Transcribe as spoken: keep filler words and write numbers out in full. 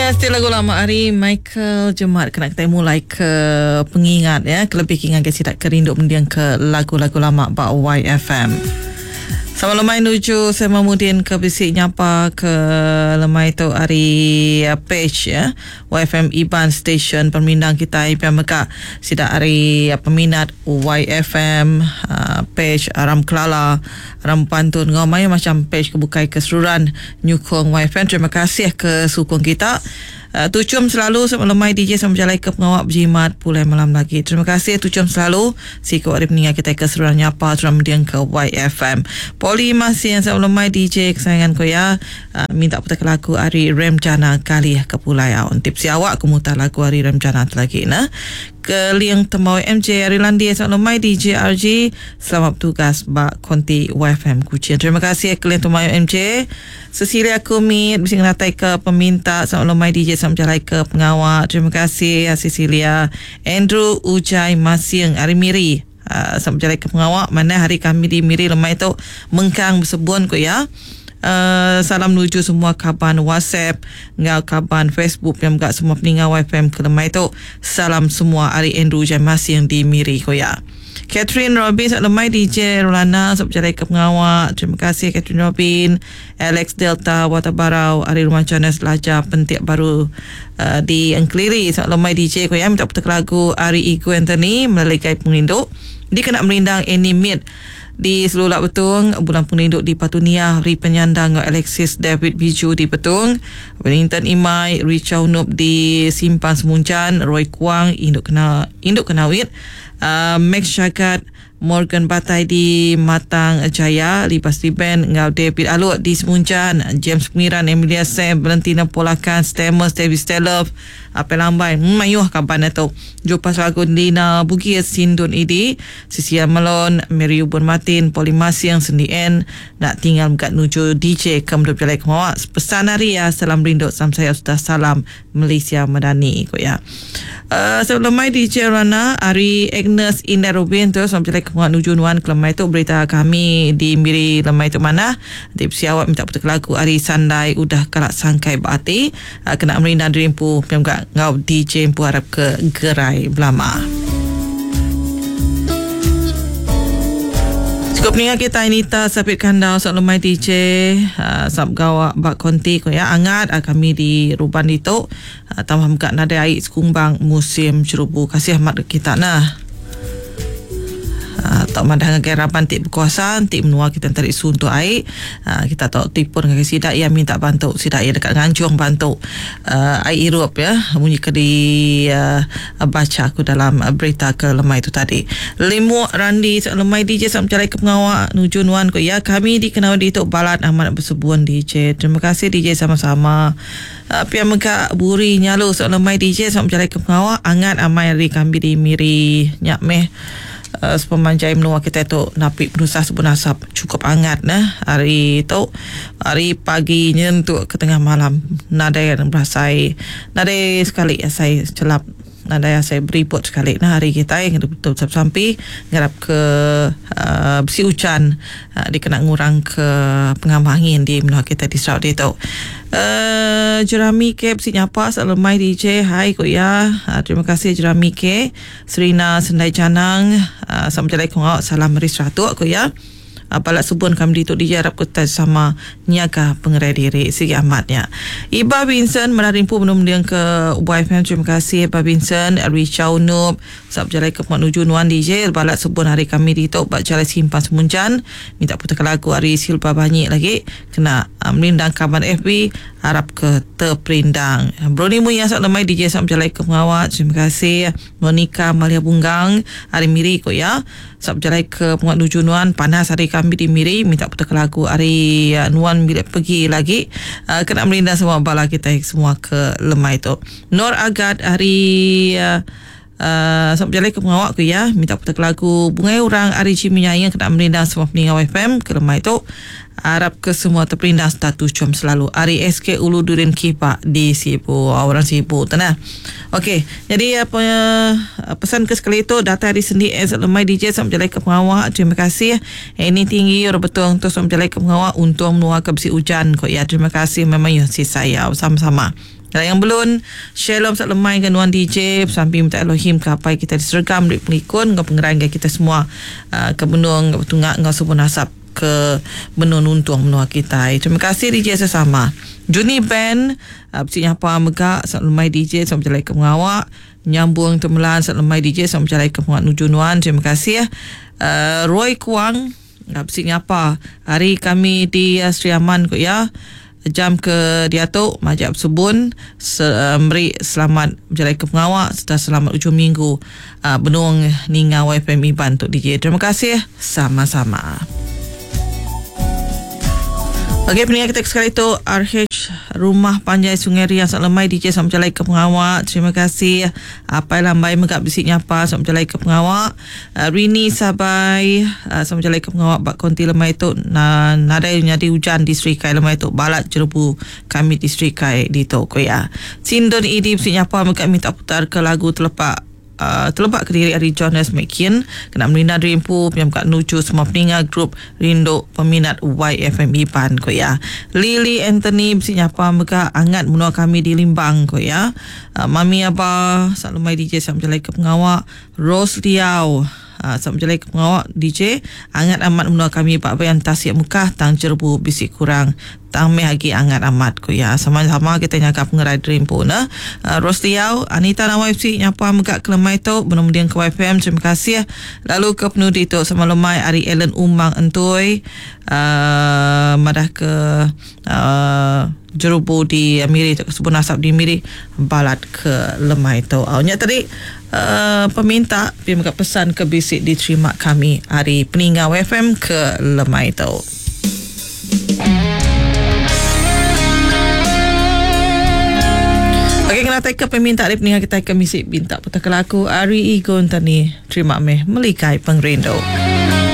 Yes, lagu lama hari Michael Jemat kena kita mulai ke pengingat ya, kelebih kingan ke sidak kerindu mendiang ke lagu-lagu lama ba Y F M. Sama lemai nuju saya Mamudin ke bisik nyapa ke lemai tu hari page ya Y F M Iban Station permindang kita I P M Mekah sidak hari peminat Y F M uh, page Aram Kelala Aram Pantun ngau main macam page kebukai keseluruhan nyukong Y F M. Terima kasih ke sukong kita. Uh, tucum selalu sama lemai D J sama berjalan ke pengawak berjimat pulai malam lagi. Terima kasih tucum selalu sikap hari meninggal kita keseluruhan nyapa seluruhan mendiang ke Y F M. Poli masih yang sama lemai D J kesayangan ko ya. Uh, minta putar lagu hari Remjana kali ke pulai aun. Tips si awak kemutar lagu hari Remjana lagi nah. Ke Liang Temau M J Ari Landi sama lemai D J R G selamat bertugas bak konti Y F M Kuching. Terima kasih ke Liang Temau M J. Cecilia Kumit bisa ngeratai ke peminta sama lemai D J sama jalan ke pengawal. Terima kasih Cecilia. Andrew Ujai Masiang Ari Miri uh, sama jalan ke pengawal. Mana hari kami di Miri lemai tu mengkang bersebun ko ya. Uh, salam nuju semua kaban WhatsApp ngau kaban Facebook yang gak semua peningat Y F M ke lemai tu. Salam semua Ari Andrew Ujai Masiang di Miri ko ya. Catherine Robin lemai D J Rolana sab jalan ke pengawal. Terima kasih Catherine Robin. Alex Delta Watabarau Ari Rumah Jonas Laja Pentik Baru uh, di Engkeliri lemai D J ko ya minta putar lagu Ari Igu Anthony melalui Gai Pengrindu. Dia kena merindang Annie Mid di Selulak Betung, Bulan Pengrindu di Patunia, Ri Penyandang Alexis David Biju di Betung, Wellington Imai, Richard Noob di Simpang Semuncan, Roy Kuang, Induk Kena Induk Kenawit, uh, Max Syagat, Morgan Batai di Matang Jaya, Libas Liben, Ngau David Aluk di Semuncan, James Pengiran, Emilia Sam, Valentina Polakan, Stamos, David Stelov, Apel Lambai, mayuh kaban itu. Jumpa lagu Lina Bugis, Sindun Idi, Sisia Melon, Mary Ubun Martin, Poli Masiang, Sendi N, nak tinggal kat nuju D J Kemdu Jalai Kemawak. Pesan hari ya, salam rindu, salam saya sudah salam Malaysia Madani ko ya. Uh, sebelum mai D J Rana, Ari Agnes Indah Rubin tu salam jalai Kemawak nuju nuan ke lemai tu berita kami di Miri lemai tu mana. Tipsi awak minta putar lagu Ari Sandai udah kalak sangkai berarti uh, kena merindang dirimpu yang gak ngau D J empu harap ke gerai belama. Cukup ni kita Anita Sapit Kandau sok lemai D J uh, sab gawak bak konti ko ya angat uh, kami di Ruban itu uh, tambah kat nadai air sekumbang musim cerubu. Kasih amat kita nah. Uh, tak madah dengan raban tik berkuasa tik menua kita tarik suntuk air uh, kita tak tipun dengan sidak ia minta bantu sidak ia dekat Nganjung bantu uh, air irup ya bunyi ke di uh, baca aku dalam uh, berita ke lemai itu tadi. Limu Randi lemai D J sam jalai ke pengawak nuju nuan ko ya kami di kenal di tok balat amat bersebuan D J. Terima kasih D J sama-sama. Uh, pihak mega buri nyalu sok lemai D J sam jalai ke pengawak angat amai hari kami di Miri nyak meh. Uh, sepemanjai menua kita tu napi penusah sebun asap cukup hangat nah hari tu hari pagi nyentuk ke tengah malam nadai berasai nadai sekali ya, saya celap nadai saya beriput sekali nah hari kita yang betul sampai ngarap ke uh, besi hujan uh, dikena ngurang ke pengamah angin di menua kita di Sarawak itu. Uh, Jerami K besi nyapa lemai D J hai ko ya uh, terima kasih Jerami K Serina Sendai Canang uh, Assalamualaikum salam meri seratuk ko ya. Uh, balak subun kami di tu diharap kita sama niaga pengerai diri segi amatnya. Iba Vincent menarimpu menumdiang ke Y F M. Terima kasih Iba Vincent, Richard Noob, sab jalai ke menuju nuan D J balak subun hari kami di tu bak jalai simpan Semunjan minta putar lagu hari Silva banyak lagi kena uh, melindang kaban F B harap ke terperindang. Brony Muya sab lemai D J sab jalai ke pengawat. Terima kasih Monica Malia Bunggang hari Miri ko ya. Sab jalai ke penguat nuju nuan panas hari kami di Miri minta putar lagu hari uh, nuan bila pergi lagi uh, kena melindang semua bala kita semua ke lemai tu. Nur Agat hari uh, Uh, sampai jalan ke pengawak ku ya minta putar lagu Bungai Orang Ari Cimi Nyayang kena melindang semua peninggal Y F M ke lemai tu harap ke semua terperindang status com selalu Ari S K Ulu Durin Kipak di Sibu orang Sibu tanah. Okey, jadi apa pesan ke sekali itu data hari sendi S lemai D J sampai jalan ke pengawak. Terima kasih. Ini tinggi orang betul untuk sampai jalan ke pengawak untung menua ke besi hujan kok ya. Terima kasih memang ya si saya sama-sama. Yang belum Shalom sak lemai ke nuan D J sambil minta Elohim ke apai kita disergam duit pengikun ngau pengerai ke kita semua uh, ke benung tunga ngau subun asap ke benung nuntung menua kita. Terima kasih D J sesama. Juni Ben uh, besi nyapa mega sak lemai D J sampai berjalai ke pengawak nyambung temelan sak lemai D J sampai berjalai ke pengawak nuju nuan. Terima kasih. Uh, Roy Kuang uh, besi nyapa hari kami di uh, Sri Aman ko ya. Jam ke diatu majak subun se, uh, meri selamat berjalai ke pengawak serta selamat ujung minggu uh, benung ninga Y F M Iban untuk D J. Terima kasih sama-sama. Okey, pendengar kita sekali tu R H Rumah Panjai Sungai Riang Sak Lemai D J sama berjalai ke pengawak. Terima kasih. Apai Lambai megak bisik nyapa sama berjalai ke pengawak. Uh, Rini Sabai uh, sama berjalai ke pengawak bak konti lemai tu na, nadai nyadi hujan di Serikai lemai tu balat jerebu kami di Serikai di tu ya. Sindon Idi bisik nyapa megak minta putar ke lagu telepak Uh, telebak ke diri hari Jonas McKean kena melina rimpu yang kat nuju semua peninga grup rindu peminat Y F M Iban ko ya. Lily Anthony besi nyapa mega angat menua kami di Limbang ko ya. Uh, Mami Abah Salumai D J sam jalai ke pengawak Rose Liau uh, sam jalai ke pengawak D J angat amat menua kami Pak Bayan Tasik Mekah tang jerbu bisi kurang tang meh lagi angat amat ko ya. Sama-sama kita nyaga pengerai dream pun nah. Uh, Rose Liau, Anita Nawai F C nyapa megak kelemai tu belum dia ke Y F M. Terima kasih. Lalu ke penudi tu sama lemai Ari Ellen Umang Entoi uh, madah ke uh, jerubu di Miri tu sebun asap di Miri balat ke lemai tu. Uh, nya tadi uh, peminta pi megak pesan ke bisik diterima kami hari peninggal Y F M ke lemai tu. Okey, kena take ke peminta dari peninggal kita ke misik bintak putar ke laku Ari Igon tani terima meh melikai pengrindu.